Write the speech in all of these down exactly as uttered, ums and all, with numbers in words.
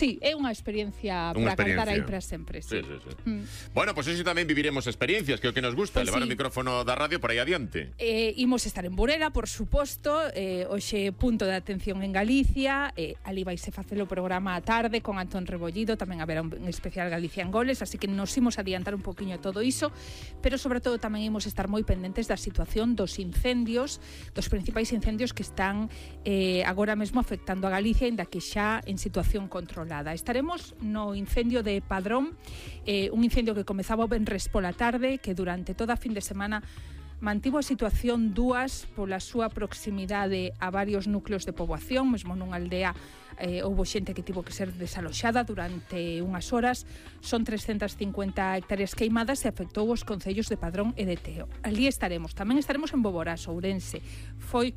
Sí, é unha experiencia para cantar aí para sempre. Sí, sí, sí, sí. Mm. Bueno, pois pues eso tamén viviremos experiencias, que é o que nos gusta, pues levar sí. o micrófono da radio por aí adiante. Eh, imos estar en Burela, por suposto, eh, hoxe punto de atención en Galicia, eh, ali vaise facer o programa a tarde con Antón Rebollido, tamén haberá un especial Galicia en Goles, así que nos imos adiantar un poquinho todo iso, pero sobre todo tamén imos estar moi pendentes da situación dos incendios, dos principais incendios que están eh, agora mesmo afectando a Galicia, ainda que xa en situación controlada. Estaremos no incendio de Padrón, eh, un incendio que comezaba o venres pola tarde, que durante toda a fin de semana mantivo a situación dúas pola súa proximidade a varios núcleos de poboación, mesmo nunha aldea eh, houbo xente que tivo que ser desaloxada durante unhas horas. Son trescentas cincuenta hectáreas queimadas e afectou os concellos de Padrón e de Teo. Alí estaremos. Tamén estaremos en Boborás, Ourense. Foi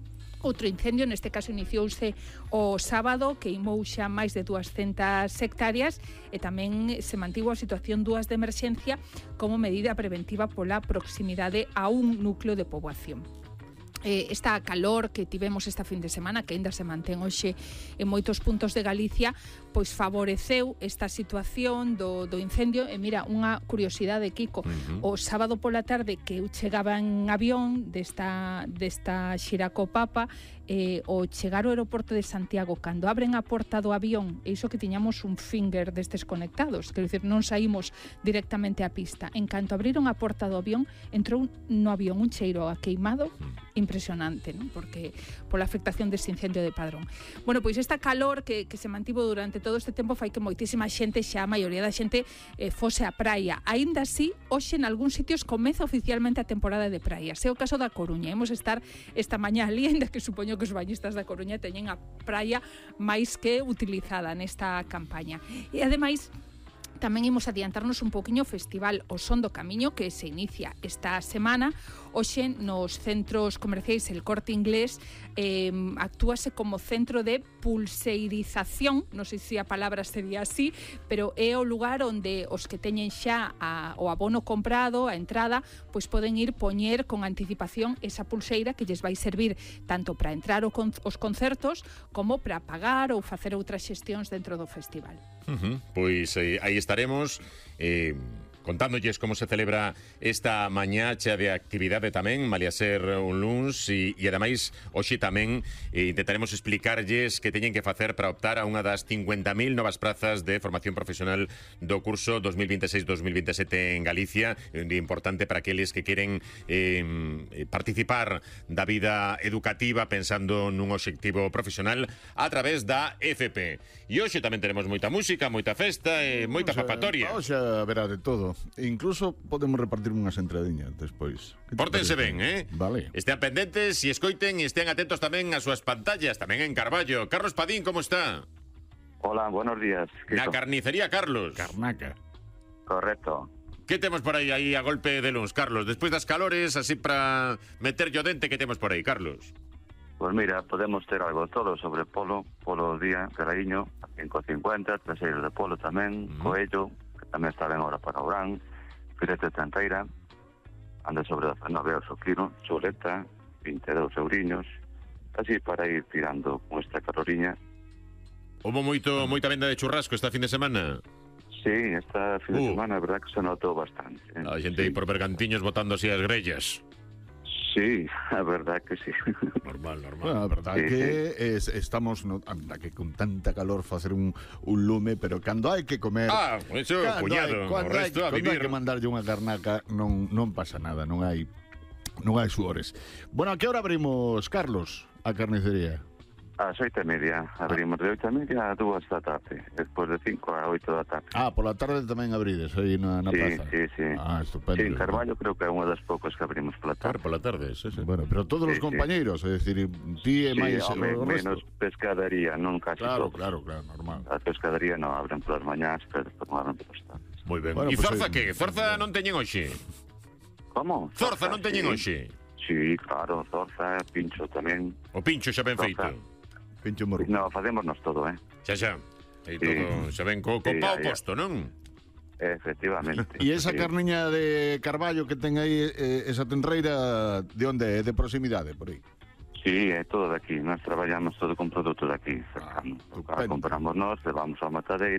outro incendio, neste caso iniciouse o sábado, queimou xa máis de duascentas hectáreas e tamén se mantivo a situación dúas de emerxencia como medida preventiva pola proximidade a un núcleo de poboación. Eh, esta calor que tivemos esta fin de semana, que ainda se mantén hoxe en moitos puntos de Galicia, pois favoreceu esta situación do, do incendio. E mira, unha curiosidade, Kiko, uh-huh. o sábado pola tarde que eu chegaba en avión desta, desta Xiraco Papa, eh, o chegar ao aeroporto de Santiago, cando abren a porta do avión, e iso que tiñamos un finger destes conectados, quero dicir, non saímos directamente á pista, en canto abriron a porta do avión, entrou no avión un cheiro a queimado impresionante, ¿no? Porque pola afectación deste incendio de Padrón. Bueno, pois esta calor que, que se mantivo durante todo este tempo fai que moitísima xente, xa a maioría da xente, eh, fose a praia. Aínda así, hoxe en algúns sitios comeza oficialmente a temporada de praia. É o caso da Coruña. Hemos estar esta mañá ali, ainda que supoño que os bañistas da Coruña teñen a praia máis que utilizada nesta campaña. E ademais, tamén imos adiantarnos un poquinho o festival O Son do Camiño, que se inicia esta semana. Hoxe nos centros comerciais El Corte Inglés eh, actúase como centro de pulseirización, non sei se a palabra sería así, pero é o lugar onde os que teñen xa a, o abono comprado, a entrada, pois poden ir poñer con anticipación esa pulseira que lles vai servir tanto para entrar o con, os concertos como para pagar ou facer outras xestións dentro do festival. Uh-huh. Pois eh, aí estaremos eh, contándolles como se celebra esta mañá chea de actividade tamén, malia ser un luns, e, e ademais hoxe tamén eh, intentaremos explicarlles que teñen que facer para optar a unha das cincuenta mil novas prazas de formación profesional do curso dos mil veintiséis dos mil veintisiete en Galicia, un día importante para aqueles que queren eh, participar da vida educativa pensando nun obxectivo profesional a través da F P. E hoxe tamén tenemos moita música, moita festa e moita papatoria. Hoxe verá de todo. Incluso podemos repartir unhas entradiñas despois. Pórtense ben, eh? Vale. Estean pendentes e escoiten e estean atentos tamén ás súas pantallas, tamén en Carballo. Carlos Padín, como está? Hola, buenos días. Na carnicería Carlos. Carnaca. Correcto. Que temos por aí aí a golpe de luns, Carlos? Despois das calores, así para meter yo dente, que temos por aí, Carlos? Pues mira, podemos ter algo todo sobre polo, polo día, caraiño, cinco cincuenta, traseiros de polo tamén, mm. coello, tamén está ben ahora para Orán, filete de tanteira, anda sobre nove euros o kilo, chuleta, vinte e dous euriños, así para ir tirando con esta caloriña. Houbo moito, moita venda de churrasco esta fin de semana? Sí, esta fin de uh. semana, a verdad que se notou bastante. Eh? A xente aí sí. por Bergantiños botando así as grellas. Sí, a verdad que sí. Normal, normal. Bueno, a verdad sí, que sí. Es, estamos, no, anda que con tanta calor facer un, un lume, pero cando hai que comer... Ah, eso, cuñado, o resto hai, a vivir. Cando hai que mandarlle unha carnaca, non, non pasa nada, non hai non hai suores. Bueno, a que hora abrimos, Carlos, a carnicería? A oito e media, abrimos de oito e media a dúas da tarde, despois de cinco a oito da tarde. Ah, pola tarde tamén abrides aí na, na sí, plaza. Sí, sí, Ah, estupendo. Sí, en Carballo creo que é unha das poucas que abrimos pola tarde. Claro, pola tarde, sí, sí. Bueno, pero todos sí, os compañeiros, sí. É dicir, ti e sí, máis home, o resto. Menos pescadería, non casi claro, todos. Claro, claro, normal. A pescadería non abren polas mañás, pero despois non abren polas tardes. Moi ben. Bueno, e pues Zorza hoy... que? Zorza non teñen hoxe? Como? Zorza, Zorza non teñen sí. hoxe? Sí, claro, Zorza, pincho tamén. O pincho xa ben Zorza. feito. Pincho morro. No, facémonos todo, eh? Xa, xa. E sí. todo xa ven co, co sí, pao ya, posto, non? Efectivamente. E esa sí. carniña de Carballo que ten aí, eh, esa tenreira, de onde é? De proximidade, por aí? Sí, é todo de aquí. Nós traballamos todo con produto de aquí, cercano. estupendo. Compramos nós, levamos ao matadeiro